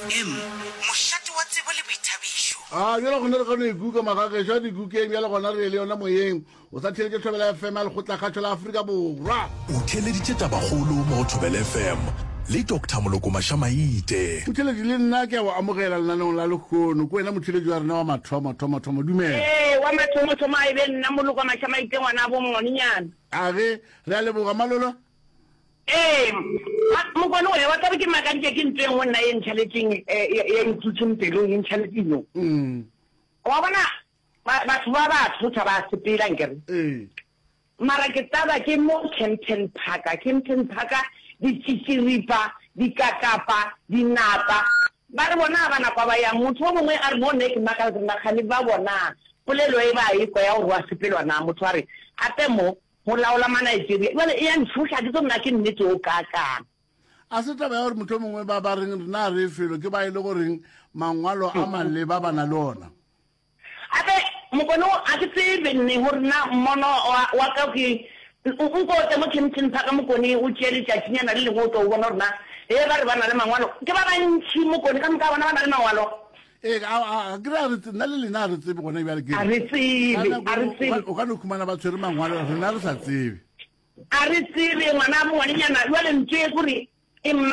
FM, mošate wa tsebo le boithabišo. A bjale gona re kgone ikuka magagešo a dikukeng bjale gona re le yona moyeng o sa theeletše Thobela FM ya Lekgotlakgašo la Afrika Borwa. O theeleditše tabakgolo mo go Thobela FM le Doctor Moloko Mašamaite. Motheeletši le nna ke a go amogela lenaneong la lehono. Ke wena motheeletši wa rena wa mathomo thomo thomo. Dumela. Ee, wa mathomo thomo a e be nna Moloko Mašamaite ngwanabo Mngwanenyana. A ge, re a leboga Malolo. Ee, mokone we, wa tseba ke makaditše ke ntho e nngwe nna e ntšhaletšeng, e ntutšeng pelong, e ntšhaletše yo. Wa bona, batho ba ba thotha ba sepela nkere. Mara ke taba ke mo Kempton Park, Kempton Park, ditšitširipa, dikakapa, dinapa, ba re bona ba napa ba yang. Motho o mongwe a re mo nna ke makala ke re nakgane ba bona polelo e ba e kwa ya gore wa sepelwa na. Motho a re gape mo Go laola ma-Nigeria. Bjale e a ntšhoša, ga ke tsebe na ke nnete o kaakang. A se taba ya gore mohlomongwe ba ba reng rena ga re ye felo ke ba e le goreng mangwalo a maleba ba na le ona. Gape mokone wo ga ke tsebe nne gore na mmono wa, wa ka ke, nko o tle mo Kempton Park mokone o tšee letšatšinyana le lengwe o tlo o bona gore na ge ba re ba na le mangwalo, ke ba bantši mokone ka moka ga bona ba na le mangwalo. Ee, a, a, a ke re a re tse, nna le lena a re tsebe gona bjale ke A re tsebe, a re tsebe. O ka no khumana ba tshwere mangwalo, rena re sa tsebe. A re tsebe, ngwana ngwanenyana, jwale ntho e kore e.